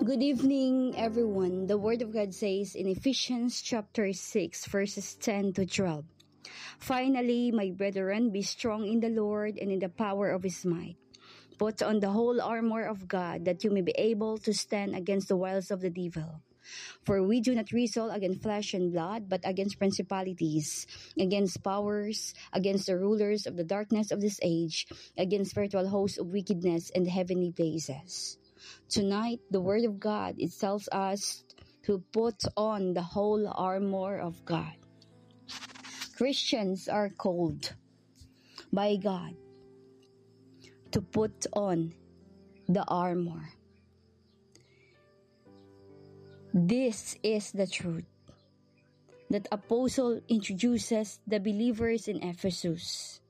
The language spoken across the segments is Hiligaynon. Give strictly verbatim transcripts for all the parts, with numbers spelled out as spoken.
Good evening, everyone. The Word of God says in Ephesians chapter six, verses ten to twelve, "Finally, my brethren, be strong in the Lord and in the power of his might. Put on the whole armor of God, that you may be able to stand against the wiles of the devil. For we do not wrestle against flesh and blood, but against principalities, against powers, against the rulers of the darkness of this age, against spiritual hosts of wickedness in the heavenly places." Tonight, the Word of God, it tells us to put on the whole armor of God. Christians are called by God to put on the armor. This is the truth that Apostle introduces the believers in Ephesus,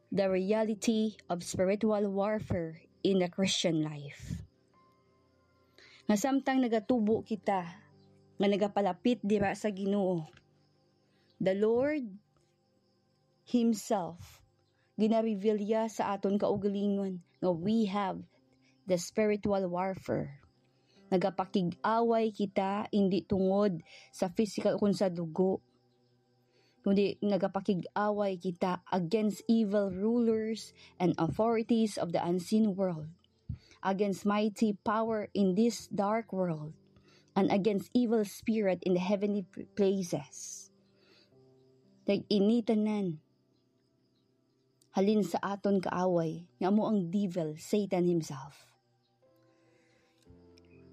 the reality of spiritual warfare in the Christian life. Nga samtang nagatubo kita nga nagapalapit dira sa Ginoo, the Lord himself ginareveal ya sa aton kaugalingon nga we have the spiritual warfare. Nagapakig-away kita, hindi tungod sa physical kun sa dugo, kundi nagapakig-away kita against evil rulers and authorities of the unseen world, against mighty power in this dark world, and against evil spirit in the heavenly places. Nag-initanan halin sa aton kaaway, nga amo ang devil, Satan himself.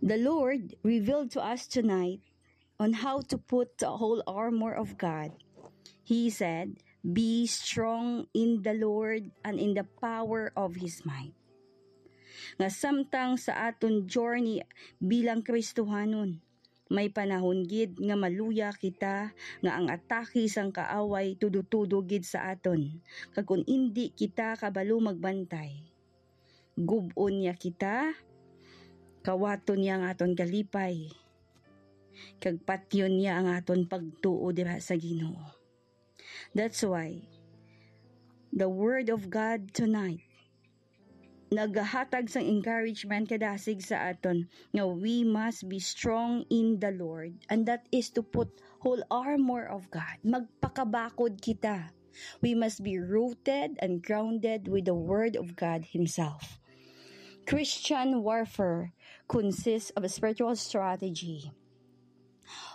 The Lord revealed to us tonight on how to put the whole armor of God. He said, "Be strong in the Lord and in the power of His might." Nga samtang sa aton journey bilang Kristohanon, may panahon gid nga maluya kita nga ang atake sang kaaway tudo-tudo gid sa aton, kag kon indi kita kabalo magbantay, gub-on niya kita, kawaton niya ang aton kalipay, kag patyon niya ang aton pagtuo dira sa Ginoo. That's why the Word of God tonight nagahatag sang encouragement kadasig sa aton nga we must be strong in the Lord, and that is to put whole armor of God. Magpakabakod kita. We must be rooted and grounded with the Word of God Himself. Christian warfare consists of a spiritual strategy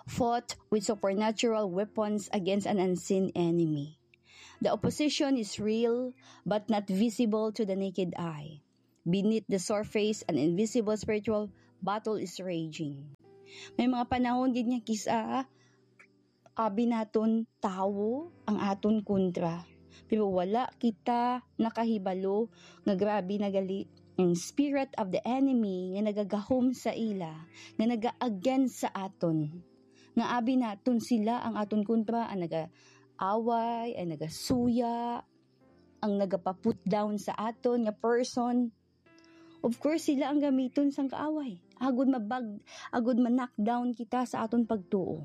fought with supernatural weapons against an unseen enemy. The opposition is real but not visible to the naked eye. Beneath the surface, an invisible spiritual battle is raging. May mga panahon gid nga kis-a abi naton tawo ang aton kontra, pero wala kita nakahibalo nga grabe na gali ang spirit of the enemy nga nagagahom sa ila, nga naga-against sa aton, nga abi naton sila ang aton kontra, ang nagaaway, ang nagasuya, ang nagapa-put down sa aton nga person. Of course, sila ang gamiton sang kaaway agod mabag, agod ma-knock down kita sa aton pagtuo.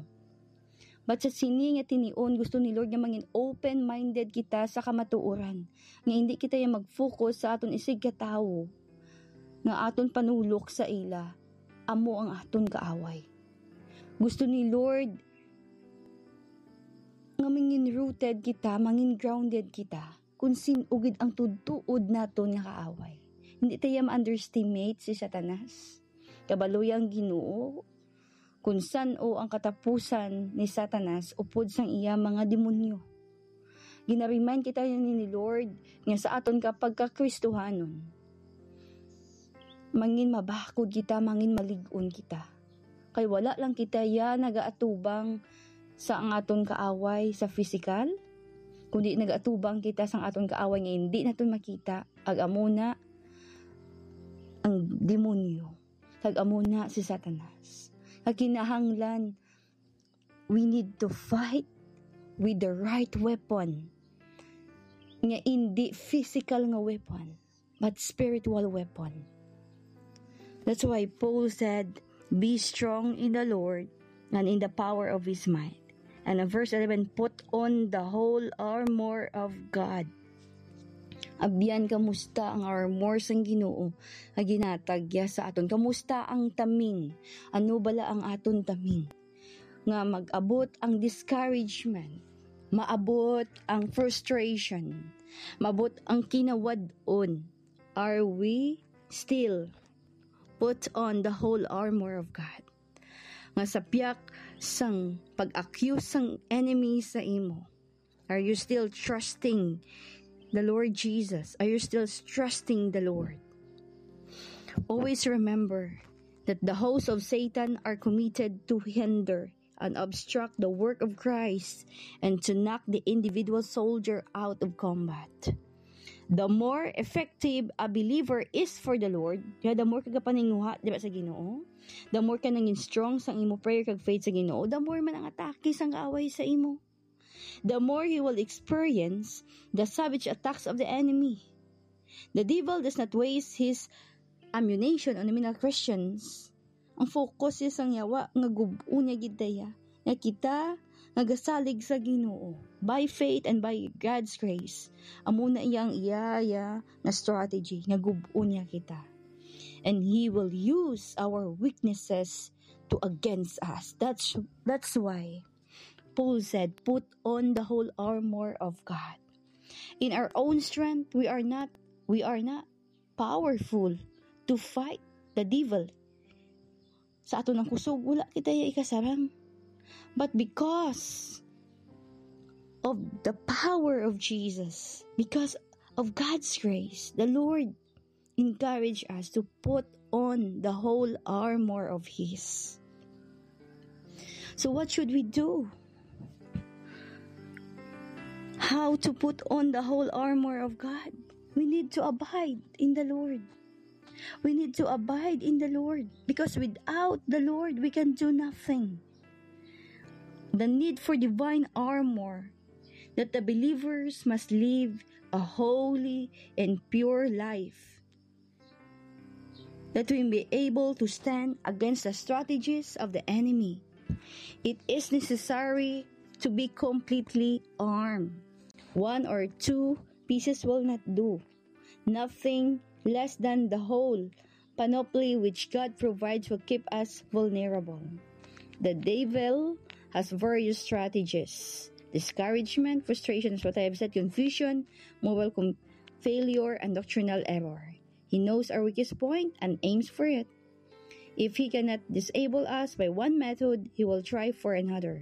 But sa sini nga tinion, gusto ni Lord nga mangin open-minded kita sa kamatuoran, nga hindi kita ya mag-focus sa aton isigkatawo, nga aton panulok sa ila amo ang aton kaaway. Gusto ni Lord nga mangin rooted kita, mangin grounded kita, kung sin-o gid ang tudtuod naton nga kaaway. Hindi ta ya ma-underestimate si Satanas. Kabalo ya ang Ginoo kung san-o ang katapusan ni Satanas upod sang iya mga demonyo. Gina-remind kita ni, ni Lord nga sa aton ka pagkakristohanon, mangin mabakod kita, mangin malig-on kita. Kay wala lang kita ya nagaatubang sa ang aton kaaway sa physical, kundi nagaatubang kita sa aton kaaway nga hindi naton makita, ag amo na ang demonyo, kag amo na si Satanas. Nga kinahanglan, we need to fight with the right weapon, nga hindi physical nga weapon, but spiritual weapon. That's why Paul said, "Be strong in the Lord and in the power of His might." And in verse eleven, "Put on the whole armor of God." Abyan, kamusta ang armor sang Ginoo nga ginatag niya sa aton? Kamusta ang taming? Ano bala ang aton taming? Nga mag-abot ang discouragement, maabot ang frustration, maabot ang kinawad-on. Are we still put on the whole armor of God? Nga sa piyak sang pag-accuse sang enemy sa imo, are you still trusting the Lord Jesus? Are you still trusting the Lord? Always remember that the hosts of Satan are committed to hinder and obstruct the work of Christ and to knock the individual soldier out of combat. The more effective a believer is for the Lord, kaya the more kagapaninguha, di ba, sa Ginoo, the more ka nangin strong sang imo prayer kag faith sa Ginoo, the more man ang atake sang kaaway sa imo. The more he will experience the savage attacks of the enemy. The devil does not waste his ammunition on the Christians. Ang focus niya sang yawa nga gub-on niya gid daya. Nga kita nga gasalig sa Ginoo by faith and by God's grace. Amo na iyang iya, iya nga strategy nga gub-on niya kita. And he will use our weaknesses to against us. That's that's why Paul said, "Put on the whole armor of God." In our own strength, we are not we are not powerful to fight the devil. Sa aton ang kusog, wala kita iya ikasarang. But because of the power of Jesus, because of God's grace, the Lord encourage us to put on the whole armor of His. So what should we do? How to put on the whole armor of God? We need to abide in the Lord. We need to abide in the Lord, because without the Lord, we can do nothing. The need for divine armor, that the believers must live a holy and pure life, that we may be able to stand against the strategies of the enemy. It is necessary to be completely armed. One or two pieces will not do. Nothing less than the whole panoply which God provides will keep us vulnerable. The devil has various strategies: discouragement, frustration, as what I have said, confusion, moral com- failure, and doctrinal error. He knows our weakest point and aims for it. If he cannot disable us by one method, he will try for another.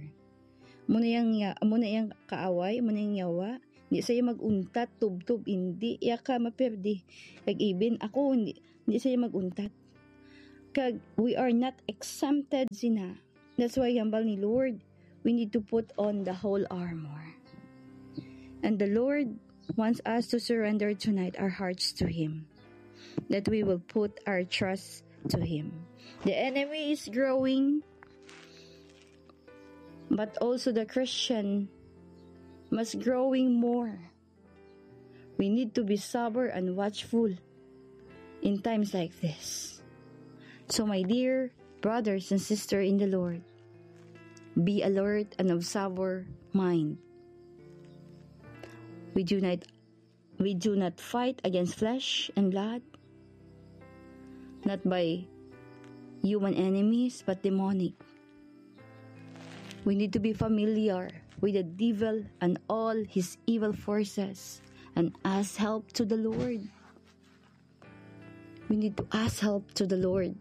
Muna yang ya, muna yang kaaway, muna yang yawa. Di siya mag-untat, tubtob, hindi ya ka maperdi. Kag even ako, hindi, hindi siya mag-untat. Kag we are not exempted sina. That's why hambal ni Lord, we need to put on the whole armor. And the Lord wants us to surrender tonight our hearts to Him, that we will put our trust to Him. The enemy is growing, but also the Christian must growing more. We need to be sober and watchful in times like this. So, my dear brothers and sisters in the Lord, be alert and of sober mind. We do not we do not fight against flesh and blood, not by human enemies, but demonic. We need to be familiar with the devil and all his evil forces and ask help to the Lord. We need to ask help to the Lord.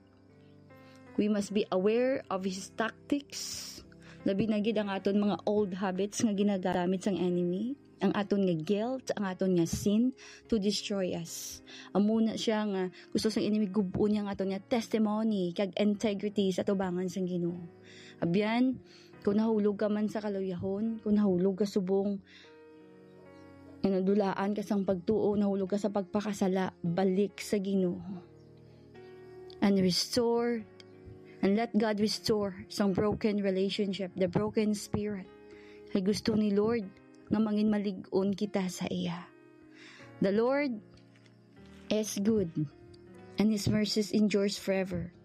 We must be aware of his tactics. Labi na gid ang aton mga old habits nga ginagamit sang enemy, ang aton nga guilt, ang aton nga sin to destroy us. Amo na siya nga gusto sang enemy gub-on niya ang aton nga testimony kag integrity sa atubangan sang Ginoo. Abyan, kung nahulog ka man sa kaluyahon, kung nahulog ka subong, nga nadulaan ka sang pagtuo, nahulog ka sa pagpakasala, balik sa Ginoo. And restore, and let God restore sang broken relationship, the broken spirit. Kay gusto ni Lord nga mangin malig-on kita sa iya. The Lord is good, and His mercies endures forever.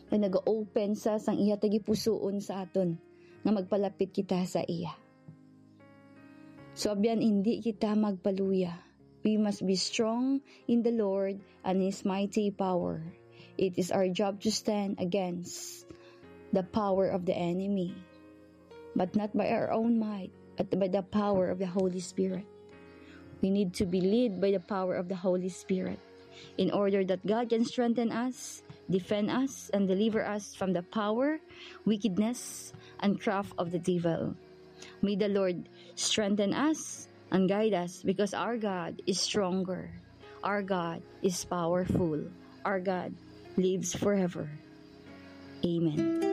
Nga nag-open sa sang iya tagipusoon sa aton nga magpalapit kita sa iya. So, abyan, hindi kita magpaluya. We must be strong in the Lord and His mighty power. It is our job to stand against the power of the enemy, but not by our own might, but by the power of the Holy Spirit. We need to be led by the power of the Holy Spirit in order that God can strengthen us, defend us, and deliver us from the power, wickedness, and craft of the devil. May the Lord strengthen us and guide us, because our God is stronger. Our God is powerful. Our God lives forever. Amen.